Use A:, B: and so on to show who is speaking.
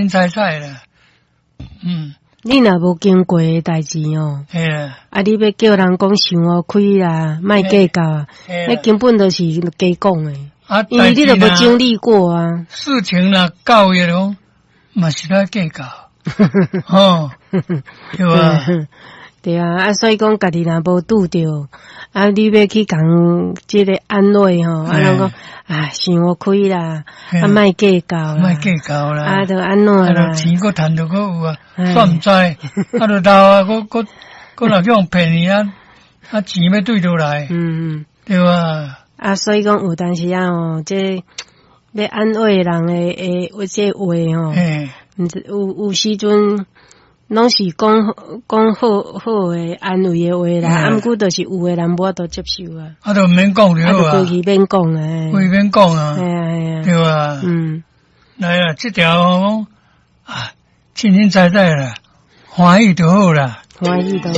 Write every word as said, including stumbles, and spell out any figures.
A: 清彩彩啦，嗯。
B: 你若無經過的代誌哦，
A: 啊，
B: 啊，你欲叫人講想予開啦，莫計較啊，彼根本就是假講的，
A: 啊，
B: 因為你都無經歷過啊。
A: 事情若到彼種，嘛是咧計較，吼，對吧？
B: 對啊，啊，所以講家己若無拄著，啊，你欲去共這個安慰吼，啊，攏講啊，想予開啦，啊，莫計較啦，
A: 莫計較啦，
B: 啊，著按怎啦，
A: 錢閣趁著閣有啊，煞毋知，啊，著老啊，閣閣閣若去予騙去啊，啊，錢欲對佗來，
B: 嗯，
A: 對吧？
B: 啊，所以講有當時啊吼，這欲安慰人的的這話吼，毋知有有時陣。攏是講講好好的安慰的話啦，啊，毋過就是有的人無法度接受啊。
A: 啊，就毋免講就好啊。
B: 啊，就規氣免講啊。
A: 規氣免講啊。
B: 係啊係啊。
A: 對啊。
B: 嗯。
A: 來啊，這條啊，清清彩彩啦，歡喜就好啦。
B: 歡喜就好。